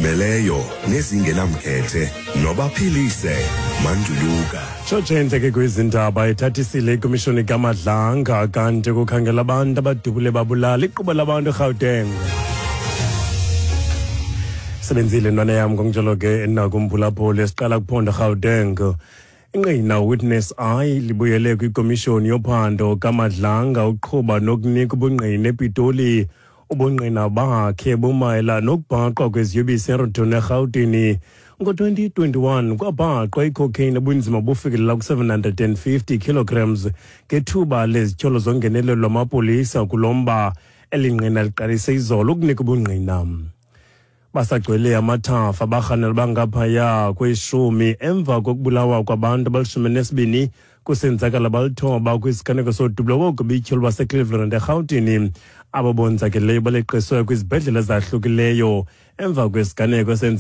Ezizimeleyo nezingenamkhethe nobaphilise Manduluka. Tshotshe ke kwizindaba ethathisile ikomishoni kaMadlanga kanti kukhangela abantu abadubule babulala iquba labantu eGauteng. Sebenzile ntwana yam ngokunjalo ke nakumphulaphuli esiqala kuphondo Gauteng. Ingqina Witness I libuyele kwikomishoni yophando kaMadlanga uqhuba nokunika ubungqina ePitoli. Ubungqina bakhe bumayela nokubhaqwa kweziyobisi eRoton eRhawutini. Ngo-2021 kwabhaqwa icocaine ebunzima bufikelela ku-750 kilograms ngethuba lezityholo zongenelelo lwamapolisa kulo mba. Eli ngqina liqalise izolo ukunika ubungqina. Basagcwele amathafa abarhanelwa bangaphaya kweshumi emva kokubulawa kwabantu abalishumi nesibini kusenzakala balithoba kwisiganeko sodubulo koogobityo lwaseCleveland eRhawutini. Abo bonzakeleyo baleqiswe kwizibhedlele ezahlukileyo emva kwesiganeko esenzeke.